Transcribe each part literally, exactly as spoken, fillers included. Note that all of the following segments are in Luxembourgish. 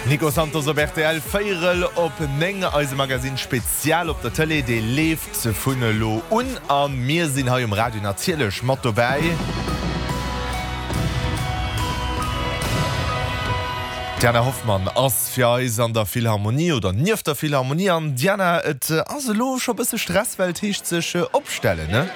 Nico Santos op rtl, Véierel op néng, eise Magazine Spezial op der Tëlee, dee leeft vun elo un a mir sinn hei um Radio natierlech mat dobäi. D'Diana Hoffmann ass fir eis an der Philharmonie oder nieft der Philharmonie. An Diana, et ass elo scho bësse Stress, well et heescht sech opstellen, ne?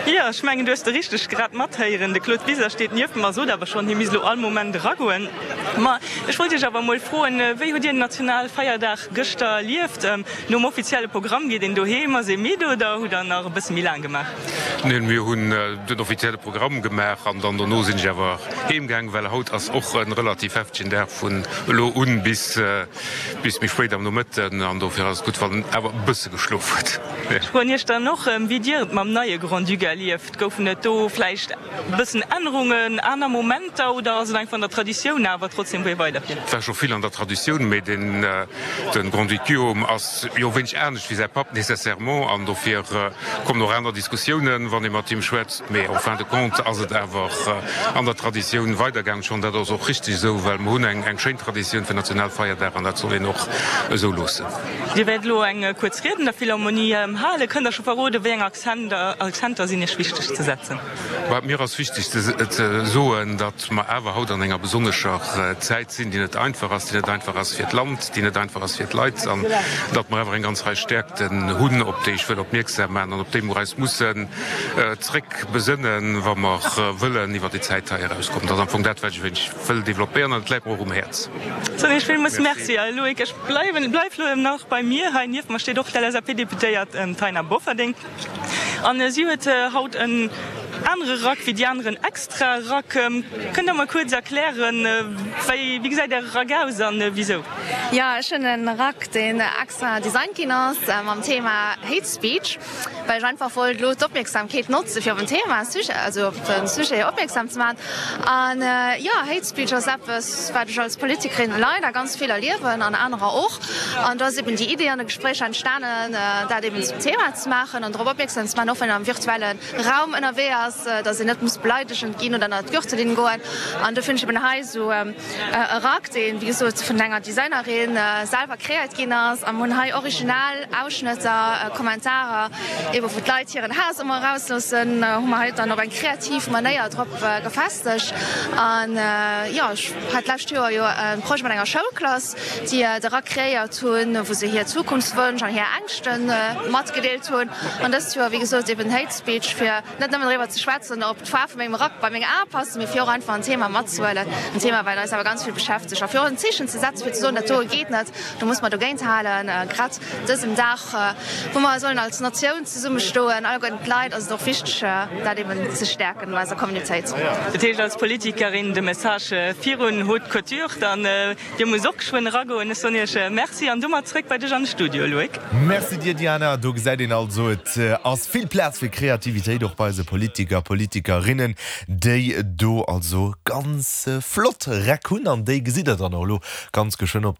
Jo, ech mengen, du hues de richteg grad matheéieren. De Claude Wiseler steet nieft mer a sot awer schonn, hie misst elo all Moment eragoen. Ma ech wollt Iech awer emol froen, Wéi hutt Dir den Nationalfeierdag gëschter erlieft? Nom offizielle Programm geet een doheem, ass ee midd oder hutt Der nach e bësse méi laang gemaach? Neen, mir hunn den offizielle Programm gemaach an dann dono sinn ech awer heem gaang, well haut ass och e relativ heftegen Dag vun elo un bis bis méi spéit am Nomëtten an dofir ass et gutt, wann een awer e bësse geschlof huet. Ech froen Iech dann och, wéi Dir et mam neie Grand-Duc erlieft. Goufen et do vläicht e bëssen Ännerungen, aner Momenter oder ass et einfach an der Traditioun awer trotzdem, wou ee weiderfiert? Et war scho vill an der Traditioun, mee den Grand-Duc Guillaume ass jo wéineg anescht wéi säi Papp nécessairement an dofir kommen och aner Diskussiounen, wann ee mat him schwätzt. Mee en fin de compte ass et awer an der Traditioun weidergaangen. Schonn dat ass och richteg esou, well mer hunn eng schéin Traditioun fir Nationalfeierdag an dat soll een och esou loossen. Dir wäert elo eng kuerz Ried an der Philharmonie halen. Kënnt Der scho verroden, wéi eng Akzenter sinn Iech wichteg ze setzen? Mir ass wichteg ze soen, datt mer awer haut an enger besonnescher Zäit sinn, déi net einfach ass, déi net einfach ass fir d'Land, déi net einfach ass fir d'Leit, an datt mer awer eng ganz Rei Stäerkten hunn, op déi ech wëll opmierksam maachen an op déi mer eis mussen zréck besënnen, wa mer wëllen iwwer déi Zäit hei erauskommen. Dat ass am Fong dat, wat ech e wéineg wëll développéieren, an et läit mer och um Häerz. Soen Iech villmools Merci. A Loïc, ech bleiwen, bleif elo nach bei mir. Hei nieft mer steet och d'LSAP-Deputéiert Taina Bofferding. An si huet haut en anere Rack wéi déi aneren, extra Rack. Kënnt Der mer kuerz erklären, wéi, wéi gesäit Äre Rack aus an wisou? Jo, ech hunn en Rack, deen extra designt ginn ass mam Thema Hate Speech, well ech einfach wollt elo d'Opmierksamkeet notze fir op en Thema, also op de Sujet opmierksam ze maachen. An jo, Hate Speech ass eppes, wat ech als Politikerin leider ganz vill erliewen an anerer och. An do ass eben déi Idee an de Gespréicher entstanen, dat eben zum Thema ze maachen an drop opmierksam ze maachen, och wann een am virtuelle Raum ënnerwee ass, dass een net muss beleidegend ginn oder ënnert d'Gürtellinn goen. An do finn ech eben hei esou e Rack, deen, wéi gesot, vun enger Designerin selwer kreéiert ginn ass. A mir hunn hei original Ausschnëtter, Kommentarer, eben wou d'Leit hiren Haass ëmmer erausloossen, hu mer hei dann op eng kreativ Manéier drop gefestegt. An jo, ech hat d'lescht Joer jo e Projet mat enger Schoulklass, déi de Rack kreéiert hunn, wou se hir Zukunftswënsch an hir Ängschte matgedeelt hunn. An dëst Joer, wéi gesot, eben Hate Speech, fir net nëmmen driwwer ze schwätzen, ob d'Faarf vu mengem Rack bei meng Ae passen, mee fir och einfach en Thema matzehuelen, en Thema, wat eis awer ganz vill beschäftegt, a fir och en Zeechen ze setzen, fir ze soen, dat doe geet net, do muss mer dogéint halen. Grad dësem Dag, wou mer sollen als Natioun zesummestoen, alleguerten d'Leit, ass et och wichteg, dat eben ze stäerken an eiser Communautéit. Dat heescht, als Politikerin de Message virun Haute Couture dann. Dir musst och geschwënn eragoen. Ech soen Iech Merci an domat zréck bei dech an de Studio, Loïc. Merci dir, Diana. Do gesäit een also, et ass vill Plaz fir Kreativitéit och bei eise Politiker, Politikerinnen, déi do also ganz flott Räck hunn. An déi gesitt der dann och elo ganz geschwënn op der.